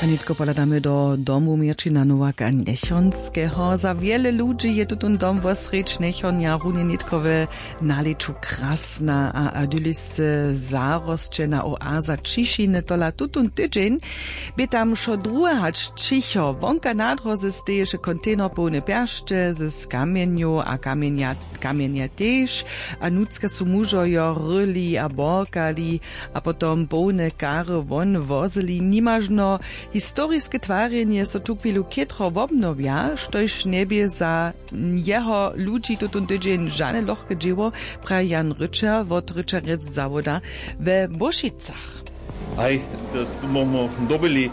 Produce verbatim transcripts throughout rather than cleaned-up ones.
A nětko pohladamy do domu měrćina nowaka njechonskeho. Za wjele ludźi je tutón dom wosrjedź njechonja runje nětko w nalěću krasna a adylisce zarosćena oaza ćišiny. Tola tutón tydźeń bě tam wšo druhe hač ćicho. Wonka na dróze steješe kontejner połny pjeršće z kamjenjow a kamjenja kamjenja tež. A nutřka su mužo jo ryli a borkali a potom połne kary won wozyli. Nimažno historiske twarjenje so tuchwilu chětro wobnowja, štož njebě za jeho ludźi tutón tydźeń žane lochke dźěło, praji Jan Ryčer wot Ryčerjec zawoda we Bóšicach. Haj, to smo dobyli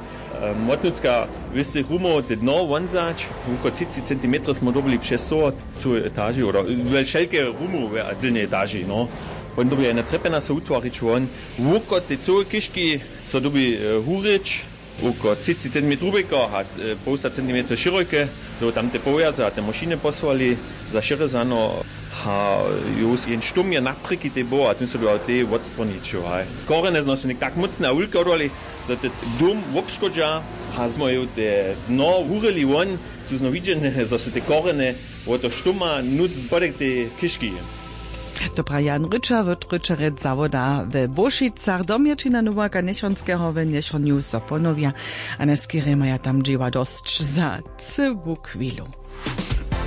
młotnutřka wěstych rumow te dno wonzać. Wuko třiceći centimetrow smo dobyli přez sohot w cyłej etaži oda we wšelke rumow w dylnej etaži no. Wón dyrbi jena trepena so wutwarić won wuko te cyłe kiški so dyrbi hurěć. Wuko třiceći centimetrow hubjeko a połsta centimetrow šěrojke. Zo tamte powjaze a te mašiny posłali za šěrezano. A jus jen štumje naprěki tej było a tym so dał tej wotstwonić haj. Korjene znosu něk tak mócne a wulke odwali, zo te dom wobškodźa. A zmoju te dno wurili won su znowu widźene zo su te korjene wo to štuma nutř spodek tej kiški. To praji Jan Ryčer wot Ryčerjec zawoda we Bóšicach. Domječina nowaka njechonskeho we njechonju so ponowja. A na skerje maja tam dźěła dosć za cyłu chwilu.